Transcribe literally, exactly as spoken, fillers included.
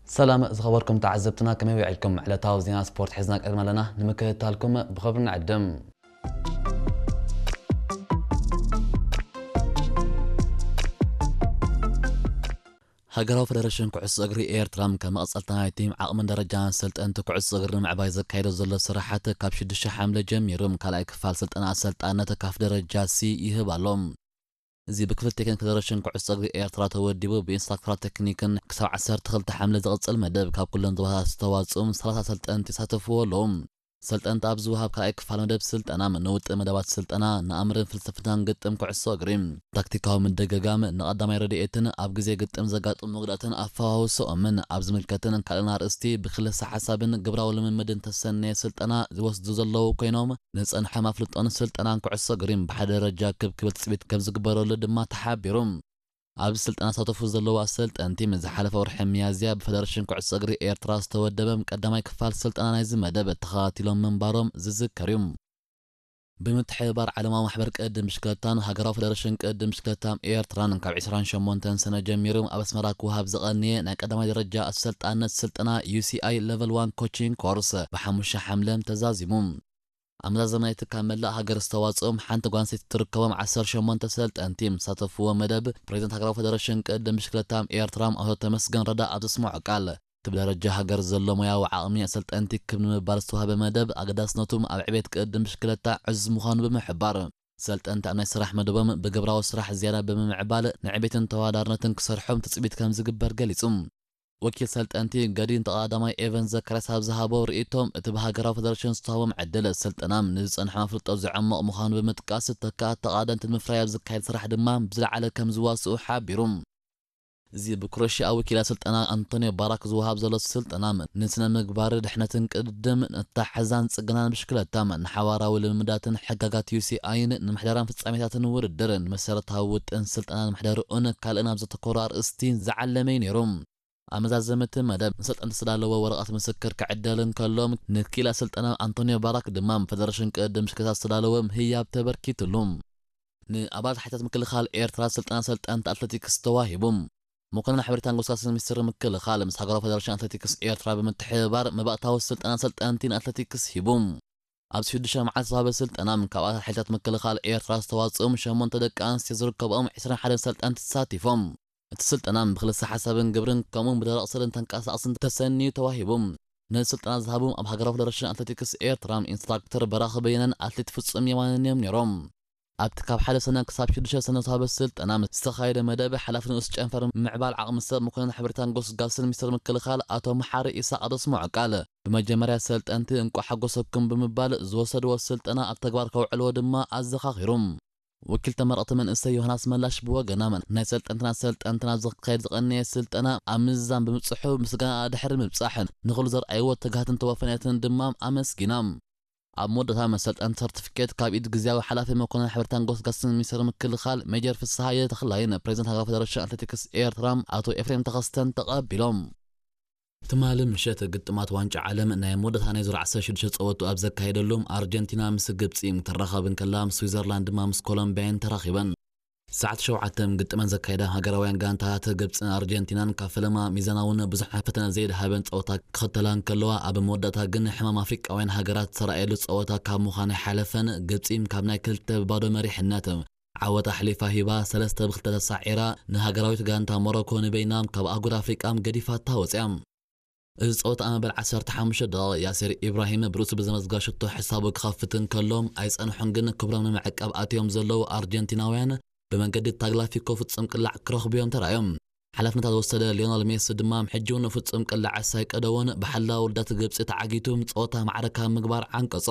ሰላም ዝኸበርኩም ተዓዘብትና፣ ከመይ ውዒልኩም? ዕለታዊ ዜና ስፖርት ሒዝና ቀሪብና ኣለና፣ ንምክትታልኩም ብኸብሪ ንዕድም። ሃገራዊ ፈደረሽን ኩዕሶ እግሪ ኤርትራ፣ ከም መቐጸልታ ናይቲ ዓቕምን ደረጃን ሰልጠንቲ ኩዕሶ እግሪ ንምዕባይ ዘካይዶ ዘሎ ስራሓት፣ ካብ ሽዱሽተ ሓምለ ጀሚሩ ካልኣይ ክፋል ስልጠና ኣሰልጣነት ካፍ ደረጃ ሲ ይህብ ኣሎ። እዚ ብክፍል ቴክኒክ ፈደረሽን ኩዕሶ እግሪ ኤርትራ ተወዲቡ፣ ብኢንስትራክተራት ቴክኒክን ክሳብ ዓሰርተ ክልተ ሓምለ ዝቕጽል መደብ፣ ካብ ኩለን ዞባታት ዝተዋጽኡ ሰላሳ ሰልጠንቲ ይሳተፍዎ ኣለዉ። ሰልጠንቲ ኣብ ዝወሃብ ካልኣይ ክፋል መደብ ስልጠና፣ ንውጥን መደባት ስልጠና፣ ንኣምርን ፍልስፍናን ግጥም ኩዕሶ እግሪ፣ ታክቲካዊ ምድግጋም፣ ንቐዳማይ ረድኤትን ኣብ ግዜ ግጥም ዘጋጥሙ ጉድኣትን ኣፈዋውስኦምን ኣብ ዝምልከትን ካልእን ኣርእስቲ ብክልሰ ሓሳብን ግብራዊ ልምምድን ተሰነየ ስልጠና ዝወስዱ ዘለዉ ኮይኖም፣ ንጸንሐ ኣፍልጦን ስልጠናን ኩዕሶ እግሪን ብሓደ ደረጃ ክብ ክብል ትጽቢት ከም ዝግበረሉ ድማ ተሓቢሩ። ኣብዚ ስልጠና ዝሳተፉ ዘለዉ ኣሰልጠንቲ፣ ዝሓለፈ ወርሒ ሚያዝያ ብፈደረሽን ኩዕሶ እግሪ ኤርትራ ዝተወደበ ቀዳማይ ክፋል ስልጠና ናይዚ መደብ ተኸታቲሎም ምንባሮም ዝዝከር እዩ። ብምትሕብባር ዓለማዊ ማሕበር ቅድም ብሽክለታን ሃገራዊ ፈደረሽን ቅድም ብሽክለታን ኤርትራን፣ ካብ ዕስራን ሸሞንተን ሰነ ጀሚሩ ኣብ ኣስመራ ክወሃብ ዝቐነየ ናይ ቀዳማይ ደረጃ ኣሰልጣነት ስልጠና ዩ ሲ ኣይ ለቨል ዋን ኮቺንግ ኮርስ ብሓሙሽተ ሓምለ ተዛዚሙ። ኣመዛዘመ ናይቲ ካብ መላእ ሃገር ዝተዋጽኦም ሓንቲ ጓል ኣንስተይቲ ትርከቦም ዓሰርተ ሸሞንተ ሰልጠንቲ ዝሳተፍዎ መደብ፣ ፕሬዚደንት ሃገራዊ ፈደረሽን ቅድም ብሽክለታ ኤርትራ ኣቶ ተመስገን ረዳ ኣብ ዘስምዖ ቃል፣ እቲ ብደረጃ ሃገር ዘሎ ሞያዊ ዓቕሚ ኣሰልጠንቲ ክብ ንምባል ዝተዋህበ መደብ፣ ኣገዳስነቱ ኣብ ዕቤት ቅድም ብሽክለታ ዕዙዝ ምዃኑ ብምሕባር፣ ሰልጠንቲ ኣብ ናይ ስራሕ መደቦም ብግብራዊ ስራሕ ዝያዳ ብምምዕባል፣ ንዕቤትን ተወዳዳርነትን ክሰርሖም ትጽቢት ከም ዝግበር ገሊጹ። ወኪል ሰልጠንቲ ገዲን ተቐዳማይ ኤቨን ዘካርያስ ኣብ ዝሃቦ ርእይቶም፣ እቲ ብሃገራዊ ፈደረሽን ዝተዋህቦም ዕድል ስልጠናም ንዝጸንሖም ኣፍልጦ ዘዐምቕ ምዃኑ ብምጥቃስ፣ ተካእቲ ተቓደምቲ ንምፍራይ ኣብ ዝካየድ ስራሕ ድማ ብዝለዓለ ከም ዝዋስኡ ሓቢሩ። እዚ ብክሮሽያ ወኪል ኣሰልጠና ኣንቶንዮ ባራክ ዝወሃብ ዘሎ ስልጠናም፣ ንስነ ምግባር ድሕነትን ቅድድም፣ ንኣተሓሕዛን ጽገናን ብሽክለታም፣ ንሓባራዊ ልምምዳትን ሕጋጋት ዩ ሲ ኣይን፣ ንምሕደራን ፍጻሜታትን ውድድር፣ ንመሰረታዊ ውጥን ስልጠናን ምሕደርኡን ካልእን ኣብ ዘተኮሩ ኣርእስቲ ዝዓለመ እዩ ነይሩ። ኣመዛዘምቲ መደብ፣ ንሰልጠንቲ ዝተዳለወ ወረቐት ምስክር ክዕደል እንከሎ፣ ንክኢላ ስልጠና ኣንቶንዮ ባራክ ድማ፣ ፈደረሽን ቅድም ብሽክለታ ዝተዳለወ ምህያብ ተበርኪትሉ። ንኣባላት ሓይልታት ምክልኻል ኤርትራ ስልጠና ሰልጠንቲ ኣትሌቲክስ ተዋሂቡ። መኮንን ሕብሪታን ጎስጋስን ሚኒስትር ምክልኻል፣ ምስ ሃገራዊ ፈደረሽን ኣትሌቲክስ ኤርትራ ብምትሕብባር፣ መባእታዊ ስልጠና ሰልጠንቲ ንኣትሌቲክስ ሂቡ። ኣብዚ ሽዱሽተ መዓልቲ ዝተዋህበ ስልጠና፣ ካብ ኣባላት ሓይልታት ምክልኻል ኤርትራ ዝተዋጽኦም ሸሞንተ ደቂ ኣንስትዮ ዝርከብኦም ዕስራን ሓደን ሰልጠንቲ ተሳቲፎም። እቲ ስልጠና ብክልሰ ሓሳብን ግብርን፣ ከምኡውን ብደረቕ ስእልን ተንቀሳቕስን ተሰንዩ ተዋሂቡ። ነዚ ስልጠና ዝሃቡ ኣብ ሃገራዊ ፈደረሽን ኣትሌቲክስ ኤርትራ ኢንስትራክተር በራኺ በየነን ኣትሌት ፍጹም የማነን እዮም ነይሮም። ኣብቲ ካብ ሓደ ሰነ ክሳብ ሽዱሽተ ሰነ ዝተዋህበ ስልጠና ምስ ዝተኻየደ መደብ፣ ሓላፊ ንኡስ ጨንፈር ምዕባል ዓቕሚ ሰብ መኮንን ሕብሪታን ጎስጋስን ሚኒስትር ምክልኻል ኣቶ መሓሪ ኢሳቕ ኣብ ዘስምዖ ቃል፣ ብመጀመርያ ሰልጠንቲ እንቋዕ ሓጎሰኩም ብምባል፣ ዝወሰድዎ ስልጠና ኣብ ተግባር ከውዕልዎ ድማ ኣዘኻኺሩ። ወኪል ተመረቕቲ መንእሰይ ዮሃናስ መላሽ ብወገና፣ ናይ ሰልጠንትና ሰልጠንትና ኣብ ዝካየድ ዝቐነየ ስልጠና ኣብ ምዝዛም ብምብጽሑ ምስጋና ድሕሪ ምብጻሕ፣ ንኹሉ ዘርኣይዎ ትግሃትን ተወፋይነትን ድማ ኣመስጊና። ኣብ መወዳእታ፣ መሰልጠንቲ ሰርቲፊኬት ካብ ኢድ ግዝያዊ ሓላፊ መኮንን ሕብሪታን ጎስጋስን ሚኒስትር ምክልኻል ሜጀር ፍስሃየ ተኽላይን ፕሬዚደንት ሃገራዊ ፈደረሽን ኣትሌቲክስ ኤርትራ ኣቶ ኤፍሬም ተኸስተን ተቐቢሎም። ትማሊ ምሸት ግጥማት ዋንጫ ዓለም ናይ መወዳእታ ናይ ዙር ዓሰርተ ሽዱሽተ ጸወቱ ኣብ ዘካየደሉ፣ ኣርጀንቲና ምስ ግብጺ ትራኸብ እንከላ፣ ስዊዘርላንድ ድማ ምስ ኮሎምቢያ እየን ተራኺበን። ሰዓት ሸውዓተ ግጥመን ዘካየዳ ሃገራውያን ጋንታታት ግብጽን ኣርጀንቲናን፣ ካብ ፈለማ ሚዛናውን ብዙሕ ፈተነ ዘይድሃበን ጸወታ ክኽተላ እንከለዋ፣ ኣብ መወዳእታ ግን ሕማም ኣፍሪቃውያን ሃገራት ዝተራእየሉ ጸወታ ካብ ምዃን ኣይሓለፈን። ግብጺ ካብ ናይ ክልተ ብባዶ መሪሕነት ዓወት ኣሕሊፋ ሂባ፣ ሰለስተ ብክልተ ተሳዒራ፣ ንሃገራዊት ጋንታ ሞሮኮ ንበይና ካብ ኣህጉር ኣፍሪቃ ገዲፋታ ወጽያ። እዚ ጸወታ ኣብ መበል ዓሰርተ ሓሙሽተ ደቂቕ ያሲር ኢብራሂም ብርእሱ ብዘመዝጋ ሽቶ ሕሳቡ ክኸፍት እንከሎ፣ ኣይጸንሑን ግን ክብሮም ንምዕቃብ ኣትዮም ዘለዉ ኣርጀንቲናውያን ብመንገዲ ታግላፊኮ ፍጹም ቅላዕ ክረኽቡዮም ተራእዮም። ሓላፍነታ ዝወሰደ ሊዮነል ሜሲ ድማ፣ ሕጂ እውን ፍጹም ቅላዕ ሳይቀደዎን ብሓላው ውልዳት ግብጺ ተዓጊቱ ጸወታ ማዕረ ካብ ምግባር ዓንቀጾ።